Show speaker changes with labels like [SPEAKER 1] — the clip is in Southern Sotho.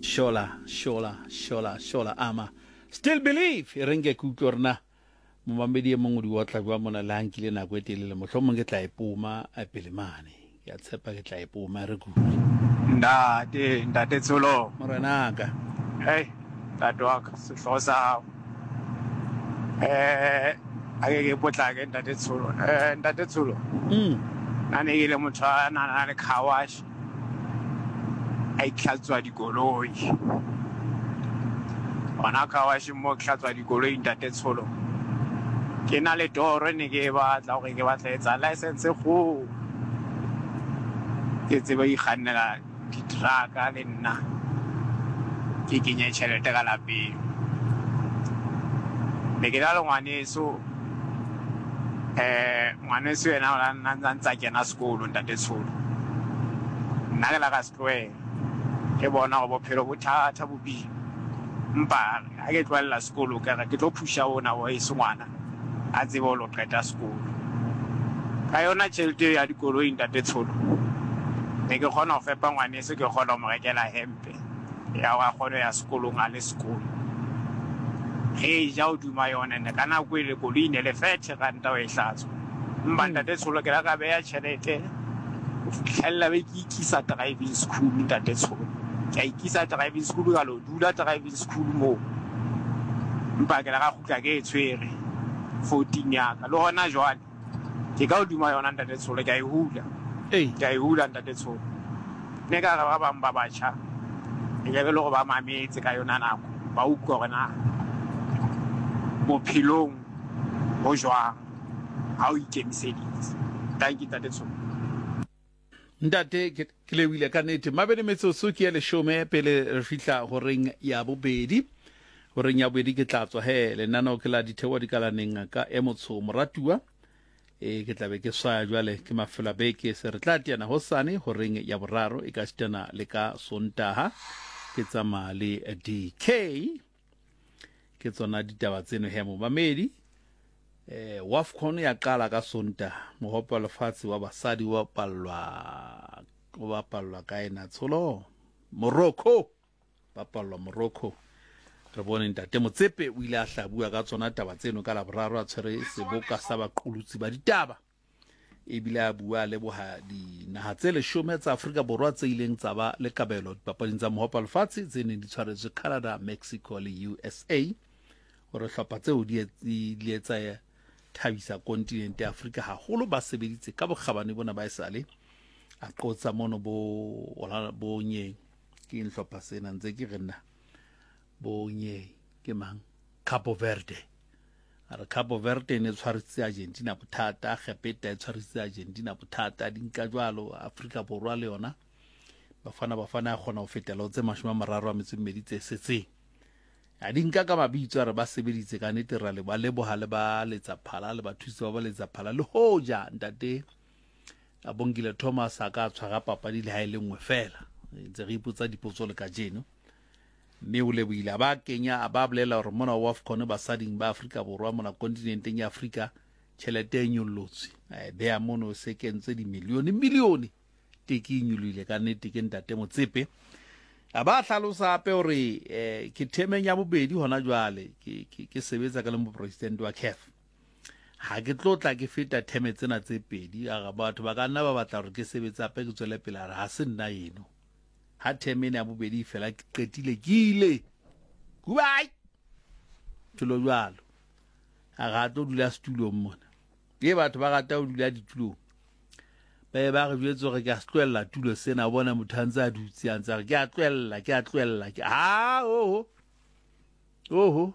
[SPEAKER 1] Shola, shola, shola, shola, ama. Still believe, e reng ke ke utlwe gore na momamedi e mongwe o di otla jwa mona le ha nkile nako e telele mohlomong ke tla e poma eh, pele mane. Ke a tshepa ke tla e poma re kudu.
[SPEAKER 2] Ntate, ntate Tsholo.
[SPEAKER 1] Morenaka.
[SPEAKER 2] Hey, ntate wa ka, sehlogo sa gago. Eh, a ke ke potlake ntate Tsholo. Eh, ntate Tsholo. Nna ne ke le motho a na na le car wash. A itlhatswa dikoloi. Gona car wash mo ke hlatswa dikoloi ntate Tsholo. Ke na le toro ne ke e batla gore ke batla etsa license go ke tsebe ikgannela di-truck-a le nna ke kenye tšhelete ka lapeng. Ne ke na le ngwaneso ngwaneso yena o la nna ntse a kena sekolo ntate Tsholo. Nna ke la ka se tlohela ke bona gore bophelo bo thata bo boima. Empa ha ke tlohella sekolo ka re ke tlo phusha ona wa heso ngwana a tsebe ho lo qeta sekolo. Ka yona tjhelete eo ya dikoloi ntate Tsholo, ne ke kgona ho fepa ngwaneso, ke kgona ho mo rekela hempe ya hore a kgone ho ya sekolong a le sekolo. Re ja hodima yona and ka nako ele koloi e ne le 30 ranta ho e hlatswa. Empa ntate Tsholo ke la ka beha tjhelete ho fihlella be ke ikisa driving school ntate Tsholo. Ke a ikisa driving school ka lo dula driving school moo. Empa ke la ka kgutla ke e tshwere 14 ya ka. Le hona jwale ke ka hodima yona ntate Tsholo, ke a e hula. Ke a e hula ntate Tsholo. Ne ka re ba bang ba batjha e ka be le gore ba mametse ka yona nako, ba utlwa gore na bophelong ho jwang ha o ikemiseditse. Dankie ntate Tsholo.
[SPEAKER 1] Ntate, ke, ke lebohile ka nete. Mabedi metsotso ke ya leshome pele re fihla horeng ya bobedi. Horeng ya bobedi ke tla tswa he lenaneo ke la ditheoa dikalaneng ka e motsho moratuwa. E ke tla be ke swaya jwale ke mafelo a beke se re tla teana hosane horeng ya boraro e ka sitana le ka Sontaha ke tsamaya le DK. Ke tsona ditaba tseno he momamedi. Eh, Wafcon ya qala ka Sontaha. Mohope wa lefatshe wa basadi o bapallwa o bapallwa kae na tsholo? Morocco. Bapallwa Morocco. Re bone ntate Motsepe o ile a hlabua ka tsona taba tseno ka Laboraro a tshwere seboka sa baqolotsi ba ditaba. Ebile a bua a leboha dinaha tse leshome tsa Afrika Borwa tse ileng tsa ba le kabelo dipapading tsa mohope wa lefatshe tse neng di tshwaretswe Canada, Mexico le USA. Hore hlopha tseo di ile tsa thabisa kontinente ya Afrika haholo, ba sebeditse ka bokgabane bona ba esale. A qotsa mono bo bo nyeng ke eng hlopha sena ntse ke re nna bo nyeng ke mang Capo Verde. A re Capo Verde e ne tshwarisitse Argentina bothata, Egepeta e tshwarisitse Argentina bothata, di nka jwalo Afrika Borwa le yona Bafana Bafana ya kgona ho fetela ho tse 32 tse setseng. A di nka ka mabitso a re ba sebeditse ka nete ra le ba leboha le ba letsa phala le bathusi ba ba letsa phala le hoja ntate Abongile Thomas a ka tshwara papadi le ha e le nngwe fela. Ntse re ipotsa dipotso le kajeno. Mme o lebohile a ba kenya a ba bolela hore mona wa Afcon basading ba Afrika Borwa mona kontinenteng ya Afrika tjhelete e nyollotswe. A e beha mono se kentswe dimilione milione. Teke e nyolohile ka nnete ke ntate Motsepe. A ba hlalosa hape hore eh, ke themeng ya bobedi hona jwale ke, ke, ke sebetsa ka le mopresidente wa CAF. Ha ke tlo tla ke feta theme tsena tse pedi, a re batho ba ka nna ba batla hore ke sebetse hape ke tswele pele, a re ha se nna eno. Ha theme ena ya bobedi e fela ke qetile ke ile. Goodbye. Tsholo jwalo. A re ha tlo dula setulong mona. Ke batho ba rata ho dula ditulong. Ba be ba re jwetse hore ke a se tlohella tulo sena, o bona motho a ntse a dutse a ntse a re ke a tlohella, ke a tlohella, ke ha oho. Oho.